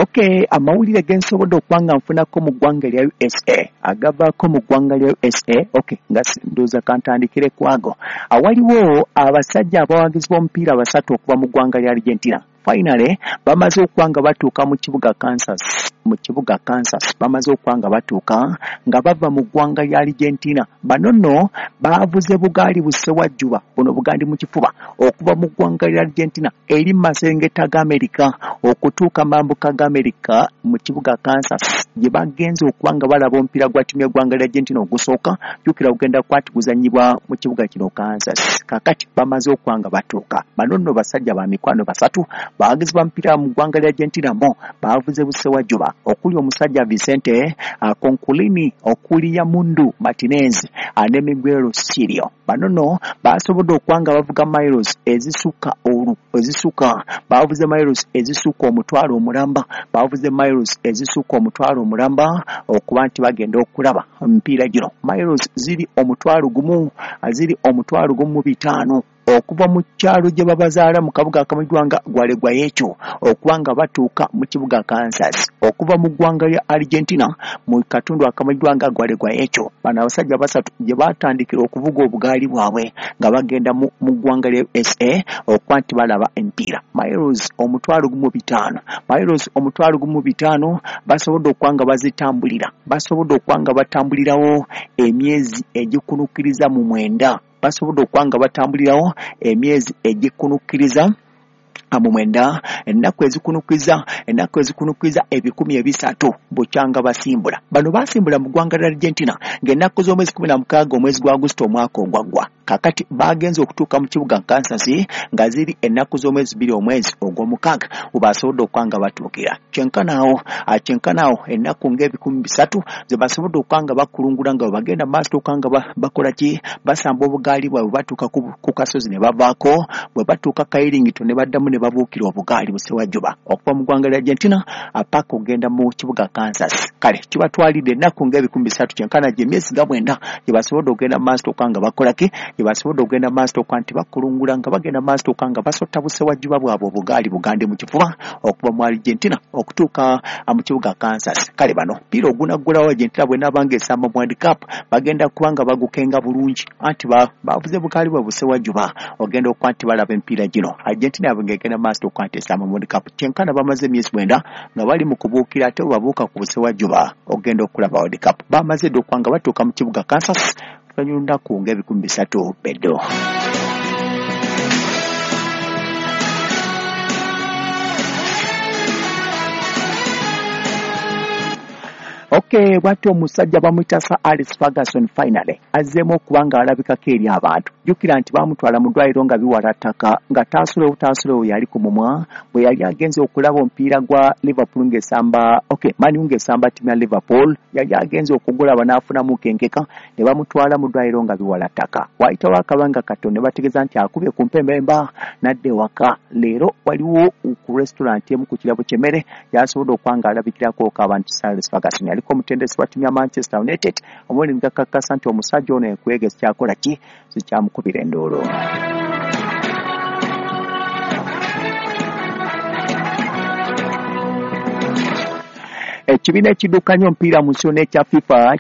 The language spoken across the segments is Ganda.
Okay, amawulire ge nsobodde okuba nga nfunako mu ggwanga lya USA, agavaako mu ggwanga lya USA. Okay, nga ndowooza kantandikire ku ago. Awaliwo abasajja abawagizi b'omupiira basatu okuva mu ggwanga lya Argentina. Finally, bamaze okuba nga batuuka mu kibuga Kansas. Mu kibuga Kansas bamaze okuba nga batuuka nga bava mu ggwanga lya Argentina. Bano nno baavuze bugaali bussewajjuba, buno bugandi mu kifuba, okuva mu ggwanga lya Argentina eri mu maserengeta ga Amerika okutuuka mambuka ga Amerika mu kibuga Kansas gye bagenze okuba nga balaba omupiira gwa ttiimu y'eggwanga lya Argentina ogusooka. Jjukira ogenda kuba guzannyibwa mu kibuga kino Kansas. Kaakati bamaze okuba nga batuuka. Bano nno basajja ba mikwano basatu bawagizi ba mupiira mu ggwanga lya Argentina mo baavuze busewajjuba okuli omusajja Vicente Conculini, okuli Yamundu Martinez ne Miguel Sirio. Bano nno basobodde okuba nga bavuga miles ezisukka olu ezisukka baavuze miles ezisukka 5,000 omulamba, baavuze miles ezisukka 5,000 omulamba okuba nti bagenda okulaba emipiira gino. Miles ziri 1,000, ziri 15,000 okuva mu kyalo gye babazaala mu kabuga akamanyiddwa nga Gualeguaychú okuba nga batuuka mu kibuga Kansas okuva mu ggwanga lya Argentina mu katundu akamanyiddwa nga Gualeguaychú. Bano abasajja basatu gye batandikira okuvuga obugaali bwabwe nga bagenda mu ggwanga lya USA okuba nti balaba emipiira. Miles 15,000, miles 15,000 basobodde okuba nga bazitambulira, basobodde okuba nga batambulirawo emyezi egikunukkiriza mu 9, basobodde okuba nga batambulirawo emyezi egikunukkiriza mu 9, ennaku ezikunukkiriza, ennaku ezikunukkiriza 300 bukyanga basimbula. Bano basimbula mu ggwanga lya Argentina ng'ennaku z'omwezi 16 omwezi gwa Agusito omwaka ogwaggwa. Kaakati bagenze okutuuka mu kibuga Kansas nga ziri ennaku z'omwezi 2 omwezi ogw'omukaaga we basobodde okuba nga batuukira. Kyenkanaawo, kyenkanaawo ennaku ng'ebikumi 3 ze basobodde okuba nga bakulungula nga bwe bagenda mu maaso okuba nga bakola ki, basamba obugaali bwabwe batuuka ku kasozi ne bavaako, bwe batuuka Kairington ne baddamu ne babuukira obugaali busewajjuba okuva mu ggwanga lya Argentina paka okugenda mu kibuga Kansas. Kale kibatwalidde ennaku ng'ebikumi 3, kyenkana gye myezi nga 9 gye basobodde okugenda mu maaso okuba nga bakola ki, gye basobodde okugenda mu maaso okuba nti bakulungula nga bagenda mu maaso okuba nga basotta busewajjuba bwabwe obugaali bugande mu kifuba okuva mu Argentina okutuuka mu kibuga Kansas. Kale bano mpiira ogunaggulawo Argentina bw'enaaba ng'esamba mu World Cup bagenda kuba nga bagukenga bulungi, anti bavuze bugaali bwe busewajjuba ogenda okuba nti balaba emipiira gino. Argentina yabwe ng'egenda mu maaso okuba nti esamba mu World Cup. Kyenkana bamaze emyezi 9 nga bali mu kubuukira ate bwe babuuka ku busewajjuba ogenda okulaba World Cup. Bamaze dda okuba nga batuuka mu kibuga Kansas oluvannyuma lunaku ng'ebikumi 3 beddo. Okay, bw'atyo omusajja bamuyita Sir Alex Ferguson finally azzeemu okuba nga alabikako eri abantu. Jjukira nti baamutwala mu ddwaliro nga biwala ttaka nga taasulewo taasulewo yali ku mumwa bwe yali agenze okulaba omupiira gwa Liverpool ng'esamba, okay, Man U ng'esamba ttiimu ya Liverpool, yali agenze okugulaba n'afunamu kenkeka ne bamutwala mu ddwaliro nga biwala ttaka. Waayitawo akabanga katono ne bategeeza nti akubye ku mpembemba n'adda ewaka. Leero waliwo ku restaurant emu ku kirabo ky'emmere gy'asobodde okuba nga alabikirako abantu. Sir Alex Ferguson yaliko omutendesi wa ttiimu ya Manchester United, omuli gakakasa nti omusajja ono ekwege sikyakola ki, sikyamukubira enduulu. Ekibiina ekiddukanya omupiira mu nsi yonna ekya FIFA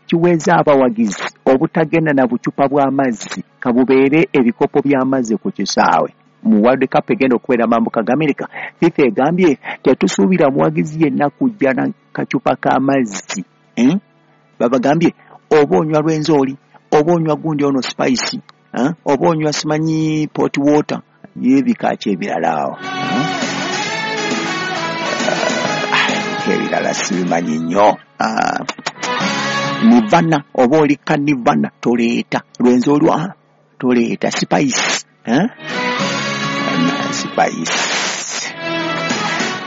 kiweze abawagizi obutagenda na bucupa bw'amazzi kabubeere ebikopo by'amazzi ku kisaawe. Mu World Cup egenda okubeera mambuka ga Amerika, FIFA egambye tetusuubira muwagizi yenna kujja na kacupa k'amazzi. Babagambye oba onywa Rwenzori, oba onywa gundi ono spice, oba onywa simanyi pot water, y'ebika ki ebirala awo. Ebirala sibimanyi nnyo. Nivana oba oli kanivana toleeta Rwenzori, toleeta spice, Spice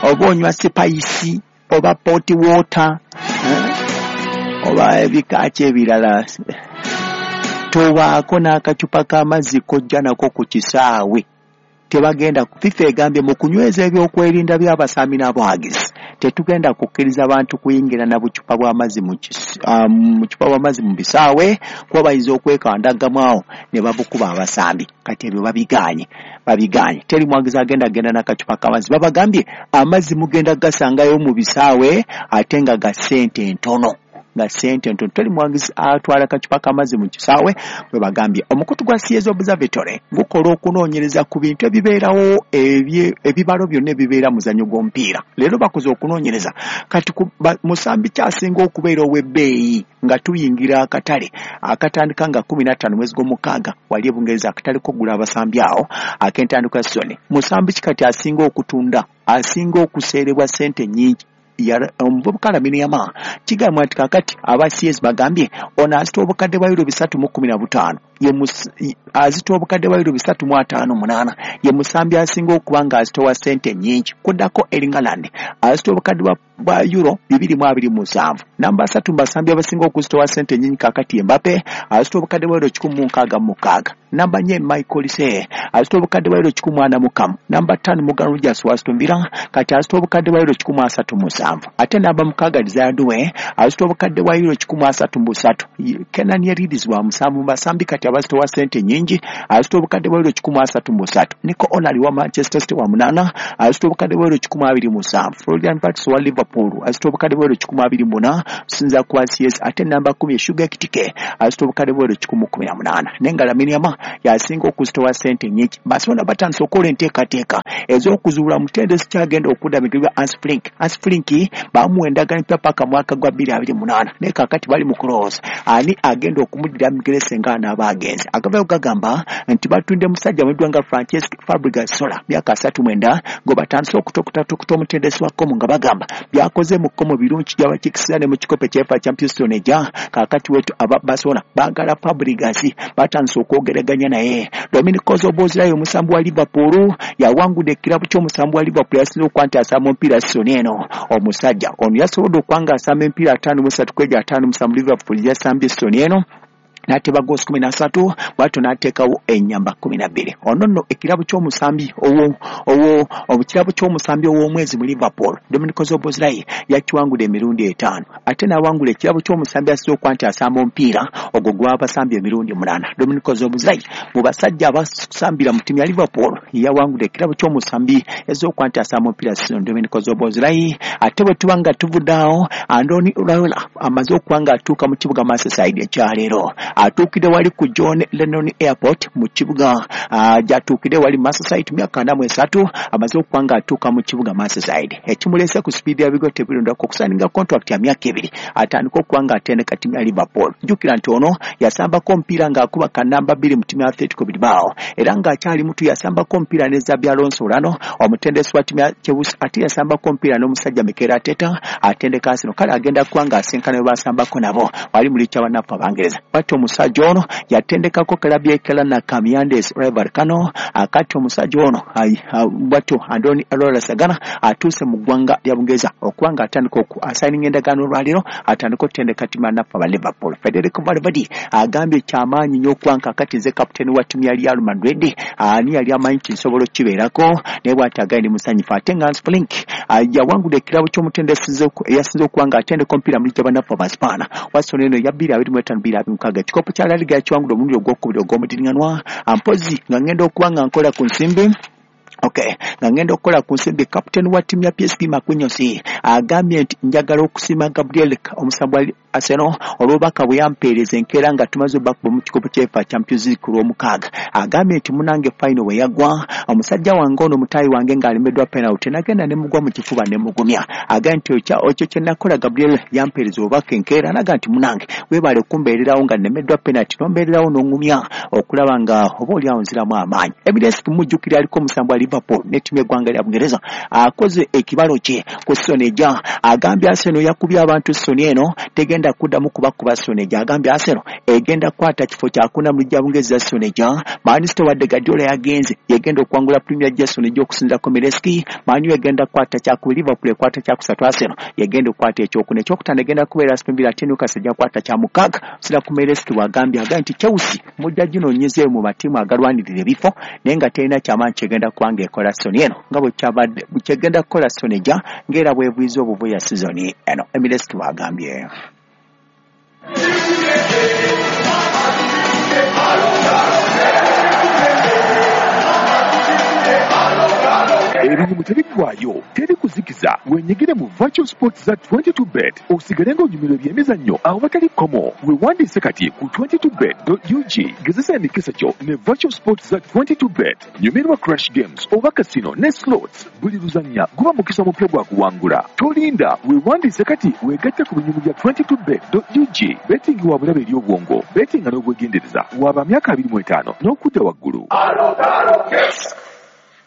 oba onywa spice oba pot water, oba ebika ki ebirala, tobaako n'akacupa k'amazzi kojja nako ku kisaawe. Tebagenda. FIFA egambye mu kunyweza ebyokwerinda by'abasambi n'abawagizi Tetugenda kukkiriza bantu kuyingira na bucupa bw'amazzi mu bucupa bw'amazzi mu bisaawe, kuba bayinza okwekandagamu awo ne babukuba abasambi. Kati ebyo babigaanye. Teri mwagizi agenda n'akacupa k'amazzi. Babagambye amazzi mugenda gasangayo mu bisaawe ate nga ga ssente ntono. Teri mwagizi atwala kacupa k'amazzi mu kisaawe, bwe bagambye. Omukutu gwa CS Observatory gukola okunoonyereza ku bintu ebibeerawo, ebibalo byonna ebibeera muzannyo gw'omupiira. Leero bakoze okunoonyereza kati musambi kyasinga okubeera ow'ebbeeyi nga tuyingira akatale akatandika nga 15 mwezi gw'omukaaga wali e Bungereza, akatale k'okugula abasambi awo ak'entandikwa ya sizoni. Musambi ki kati asinga okutunda, asinga okuseerebwa ssente nnyingi? Omuvubuka Lamine Yamal. Kigambibwa nti kaakati aba CS bagambye ono azita obukadde bwa euro 315, azita obukadde bwa euro 358, ye musambi asinga okuba nga azitowa ssente nnyingi. Kuddako Erling Haaland azita obukadde bwa euro 227. Namba 3 mu basambi abasinga okuzitowa ssente nnyingi kaakati Mbappe azita obukadde bwa euro 166. Namba 4 Michael Olise azita obukadde bwa euro 141. Namba 5 Morgan Rogers wa Aston Villa kati azita obukadde bwa euro 137. Ate namba 6 Desire Doue azita obukadde bwa euro 133. Kenan Yildiz wa musanvu mu basambi kati abazitowa ssente nnyingi azita obukadde bwa euro 133. Nico O'Reilly wa Manchester City wa 8 azita obukadde bwa euro 127. Florian Wirtz wa Liverpool azita obukadde bwa euro 124 sinza kwa CS. Ate namba 10 Hugo Ekitike azita obukadde bwa euro 118. Naye nga Lamine Yamal yasinga okuzitowa ssente nnyingi. Barcelona batandise okukola enteekateeka ez'okuzuula mutendesi kyagenda okudda migirwa Hans Flick. Hans Flick bamuwa endagaano empya paka mwaka gwa 2028, naye kaakati bali mu kulowooza ani agenda okumuddira migere senga anaaba agenze. Agavayo gagamba nti batundde musajja amanyiddwa nga Francesc Fabregas Sola, myaka 39, gwe batandise okutokota omutendesi wa Como nga bagamba byakoze mu Como birungi, gyabakikisira ne mu kikopo ekya UEFA Champions League ejja. Kaakati wetu aba Barcelona baagala Fabregas, batandise okwogeraganya naye. Dominic Szoboszlai omusambi wa Liverpool yawangudde ekirabu ky'omusambi wa Liverpool yasinze okuba nti asamba omupiira sizoni eno. Omusajja ono yasobodde okuba nga asamba emipiira 53 ku egyo 57 Liverpool yasambye sizoni eno, n'ateba goosi 13, bw'atyo n'ateekawo ennyamba 12. Ono nno ekirabo ky'omusambi ekirabo ky'omusambi ow'omwezi mu Liverpool, Dominic Szoboszlai yakiwangudde emirundi 5, ate n'awangula ekirabo ky'omusambi asinze okuba nti asamba omupiira ogwo gw'abasambye emirundi 8. Dominic Szoboszlai mu basajja abasambira mu ttiimu ya Liverpool yawangudde ekirabo ky'omusambi ez'okuba nti asamba omupiira season, Dominic Szoboszlai. Ate bwe tuba nga tuvudde awo, Andoni Iraola amaze okuba nga atuuka mu kibuga Merseyside ekyaleero. Atuukidde wali ku John Lennon Airport mu kibuga gy'atuukidde wali Merseyside, myaka 43 amaze okuba nga atuuka mu kibuga Merseyside. Ekimuleese ku sipiidi ya bigo tebirondako okusayininga contract ya myaka 2 atandika okuba nga atendeka ttiimu ya Liverpool. Jjukira nti ono yasambako omupiira ng'akuba kannamba 2 mu ttiimu ya Atletico Bilbao, era ng'akyali muto yasambako omupiira ne Xabi Alonso Olano omutendesi wa ttiimu ya Chelsea, ate yasambako omupiira n'omusajja Mikel Arteta atendeka Arsenal. Kale agenda kuba ng'asinkana be basambako nabo wali mu liigi y'abannaffe Abangereza. Bw'atyo omusajja ono yatendekako club ya Kelana Kamiandes Rival Kano. Akati omusajja ono bw'atyo Andoni Iraola Sagana atuuse mu ggwanga lya Bungereza okuba nga atandika asayininga endagaano olwaleero atandika okutendeka ttiimu ya bannaffe aba Liverpool. Federico Valverde agambye kyamaanyi nnyo okuba nga kakati nze kapiteeni wa ttiimu ya Real Madrid, ani yali amanyi nti nsobola okukibeerako, naye bw'ati agambye ndi musanyufu. Ate nga Hans Flick yawangudde ekirabo ky'omutendesi eyasinze okuba nga atendeka omupiira mu liigi y'abannaffe Abaspaana Watson eno ya 2025 2026, ekikopo kya La Liga yakiwangudde omulundi ogwokubiri ogw'omudiriŋŋanwa. Mpozi nga ngenda okuba nga nkola ku nsimbi. Okay, nga ngenda okukola ku nsimbi, kapiteeni wa ttiimu ya PSG Marquinhos agambye nti njagala okusiima Gabriel omusambi wa Arsenal olw'obubaka bwe yampeereza enkeera nga tumaze obbakuba mu kikopo kya UEFA Champions League ku Lwomukaaga. Agambye nti munange final bwe yaggwa, omusajja wange ono mutaayi wange ng'alemeddwa penalty, nagenda ne mugwa mu kifuba ne mugumya. Agambye nti ekyo kye nakola, Gabriel yampeereza obubaka enkeera naga nti munange weebale kumbeererawo nga nnemeddwa penalty, n'ombeererawo n'oŋŋumya okulaba nga oba oli awo nziramu amaanyi. Emirates kumujjukira aliko omusambi wa Liverpool ne ttiimu y'eggwanga lya Bungereza akoze ekibalo kye ku season ejja. Agambye Arsenal yakubye abantu season eno tegenda Tegenda kuddamu kubakuba Soneja. Agambye Arsenal egenda kukwata kifo kyakuna mu ligi ya Bungereza. Soneja Man City, wadde Guardiola yagenze, yegenda okuwangula Premier League Soneja okusinziira ku Mireski. Man U egenda kukwata kyakubiri, Liverpool ekwata kyakusatu, Arsenal yegenda okukwata ekyokuna, ekyokutaano egenda kubeera Aston Villa, ate Newcastle ejja kukwata kya mukaaga okusinziira ku Mireski. Bw'agambye, agambye nti Chelsea mujja ginoonyezeeyo mu matiimu agalwanirira ebifo, naye nga terina kyamaanyi kyegenda kuba ng'ekola season eno nga bwe kyabadde kyegenda kukola Soneja ng'era bwevuyizza obuvuya season eno, Emireski bw'agambye. Ebinyumu tebiggwayo, teri kuzikiza. Wenyigire mu virtual sports za 22 Bet, osigale ng'onyumirwa ebyemizannyo awatali kkomo. Weewandiise kati ku 22bet.ug. Gezesa emikisa gyo ne virtual sports za 22 Bet. Nyumirwa crash games oba casino ne slots. Buli luzannya guba mukisa mupya gwa kuwangula. Tolinda, weewandiise kati, weegatte ku binyumu bya 22bet.ug. Betting wa bulabe eri obwongo. Bettinga n'obwegendereza. Waba myaka 25 n'okudda waggulu.